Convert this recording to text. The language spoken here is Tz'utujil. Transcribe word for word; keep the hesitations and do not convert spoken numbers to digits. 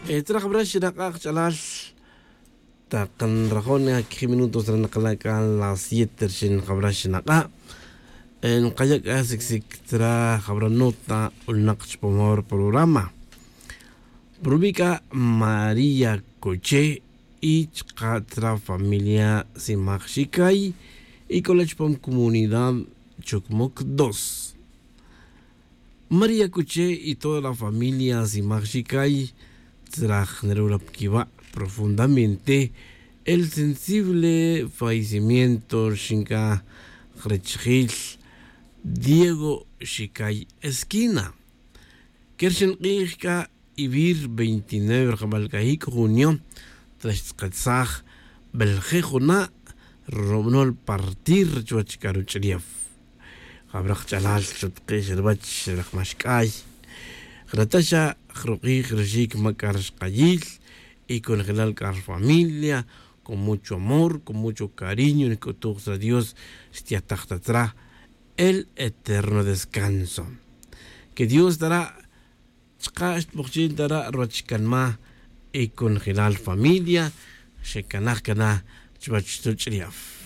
Tzra jabra xinak'a' kach'alal. Tak nrajo' ni quijib minutos ra nakala' c'a las siete rixin jabra xinak'a'. Nkaya' c'a sicsic tzra jabra nota ulnak chupamor programa. Prubi' c'a maría coche y chka' tzra familia simaj xicay y c'o la chupam comunidad chocmoc dos. María coche y toda la familia simaj xicay tzra jnarula pquiba' profundamente el sensible fallecimiento rixin c'a jrachijil diego xicay esquina. Quer xin k'ij c'a ivir veintinueve rajabal c'a jic' junio tzra xtz'aketsaj belje' juna' rubnol partir chuwech c'a ruch'ulef. Jabra kach'alal xutke' xa ruwech raj maxc'ay. Jrata xa jruk'ij ruxic ma' c'a rixkayil y conojelal c'a rufamilia con mucho amor con mucho cariño nc'utuj tzra dios xtiyataj ta tzra el eterno descanso. Que dios tara' chka' xtbujchin tara' ruwech canma' y conojelal familia xecanaj cana chuwech ruch'ulef.